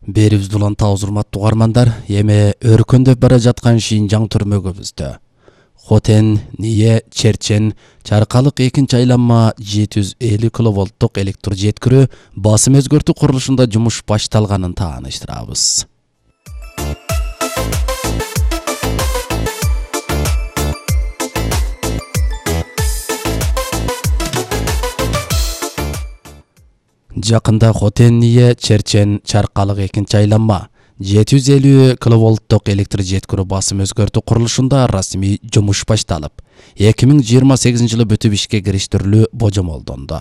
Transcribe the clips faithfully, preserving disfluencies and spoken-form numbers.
Берибизди уланта урматтуу угармандар, эми өркөндөп бара жаткан Шинжаң түрмөгүбүздө Хотен, Ние, Черчен, Чаркалык экинчи айланма жети жүз элүү киловолттук электр жеткирүү басым өзгөртүү курулушунда жумуш башталганын тааныштырабыз. Жакында Хотен, Ние, Черчен, Чаркалык экинчи айланма жети жүз элүү киловолттук электр жеткирүү басым өзгөртүү курулушунда расмий жумуш башталып, эки миң жыйырма сегизинчи жылы бүтүп ишке кириштирилүү божомолдонду.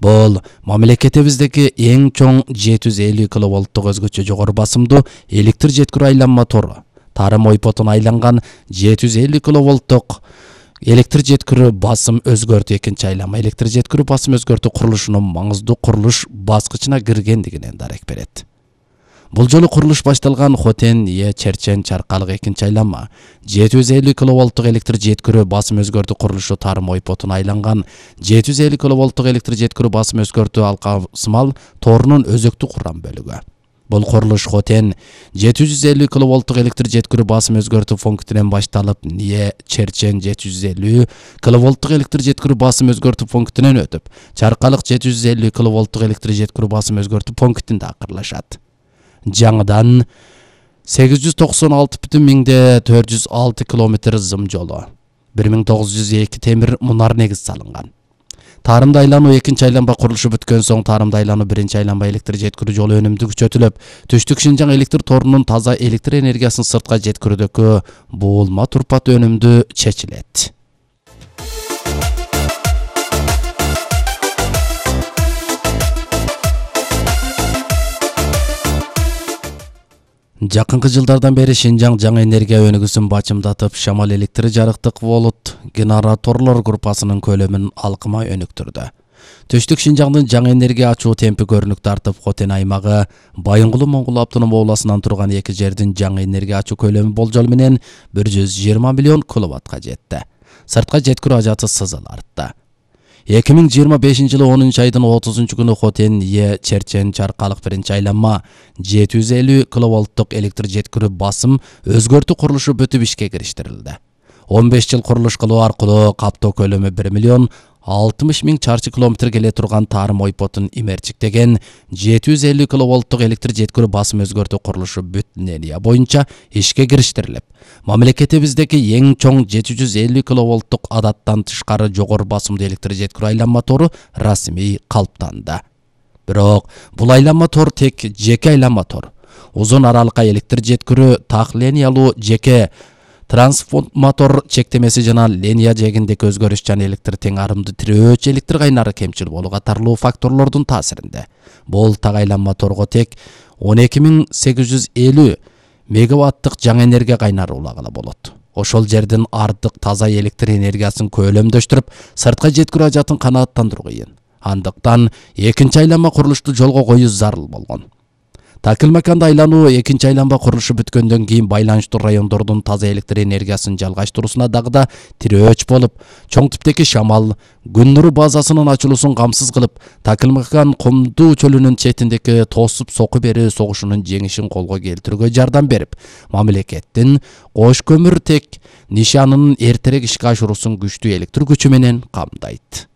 Бул мамлекетибиздеги эң чоң жети жүз элүү киловолттук өзгөчө жогору басымдуу электр жеткирүү айланма тору. Тарым ойпотуна айланган жети жүз элүү киловолттук электр жеткирүү басым өзгөртүү экинчи айланма электр жеткирүү басым өзгөртүү курулушунун маңыздуу курулуш баскычына киргендигинен дарек берет. Бул жолу курулуш башталган Хотен, Ние, Черчен, Чаркалык экинчи айланма жети жүз элүү киловолттук электр жеткирүү басым өзгөртүү курулушу тарым ойпотуна айланган жети жүз элүү киловолттук электр жеткирүү басым өзгөртүү алкасымал торунун өзөктү курган бөлүгү. Бул курулуш Хотен жети жүз элүү киловолттук электр жеткирүү басым өзгөртүү пунктинен башталып, Ние, Черчен жети жүз элүү киловолттук электр жеткирүү басым өзгөртүү пунктинен өтүп, Чаркалык жети жүз элүү киловолттук электр жеткирүү басым өзгөртүү пунктинде акырлашат. Жаңыдан сегиз жүз токсон алты бүтүн миңде төрт жүз алты километр зым жолу, бир миң тогуз жүз эки темир мунар негиз салынган. Тарымда айлануу экинчи айланма курулушу бүткөн соң тарымда айлануу биринчи айланма электр жеткирүү жолу өнүмдүү күчөтүлүп, Түштүк Шинжаң электр торунун таза электр энергиясын сыртка жеткирүүдөгү буулма турпат өнүмдүү чечилет. Жакынкы жылдардан бери Шинжаң жаңы энергия өнүгүүсүн бачымдатып, шамал электр жарыктык болот генераторлор группасынын көлөмүн алкыма өнүктүрдү. Түштүк Шинжаңдын жаңы энергия ачуу темпи көрүнүк тартып, Хотен аймагы Байынгулу Моңгул автоном областынан турган эки жердин жаңы энергия ачуу көлөмү болжол менен бир жүз жыйырма миллион киловаттка жетти. Сыртка жеткирүү ажаты сызыл артты. эки миң жыйырма бешинчи жылы онунчу айдын отузунчу күнү Хотен, Ние, Черчен, Чаркалык биринчи айланма жети жүз элүү киловолттук электр жеткирүү басым өзгөртүү курулушу бүтүп ишке кириштирилди. он беш жыл курулуш кылуу аркылуу каптоо көлөмү бир миллион алтымыш миң чарчы километр келе турган тарым ойпотун имерчиктеген жети жүз элүү киловолттук электр жеткирүү басым өзгөртүү курулушу бүт линия боюнча ишке кириштирилип, мамлекетибиздеги эң чоң жети жүз элүү киловолттук адаттан тышкары жогору басымдуу электр жеткирүү айланма тору расмий калыптанды. Бирок бул айланма тор тек жеке айланма тор. Узун аралыкка электр жеткирүү так линиялуу жеке трансформатор чектемеси жана линия жегиндеги өзгөрүш жана электр тең арымды тирөөчү электр кайнары кемчил болуу катарлуу факторлордун таасиринде. Бул так айланма торго тек он эки миң сегиз жүз элүү мегаваттык жаңы энергия кайнары улагыла болот. Ошол жердин артык таза электр энергиясын көлөмдөштүрүп, сыртка жеткирүү ажатын канааттандыруу кыйын. Андыктан экинчи айланма курулушту жолго коюу зарыл болгон. Такылмаканда айлануу экинчи айланма курулушу бүткөндөн кийин байланыштуу райондордун таза электр энергиясын жалгаштыруусуна дагы да тирөөч болуп, чоң типтеги шамал, күн нуру базасынын ачылуусун камсыз кылып, Такылмакан Комду чөлүнүн четиндеги тосуп соку берүү согушунун жеңишин колго келтирүүгө жардам берип, мамлекеттин кош көмүр тек нишанынын эртерээк ишке ашыруусун күчтүү электр күчү менен камдайт.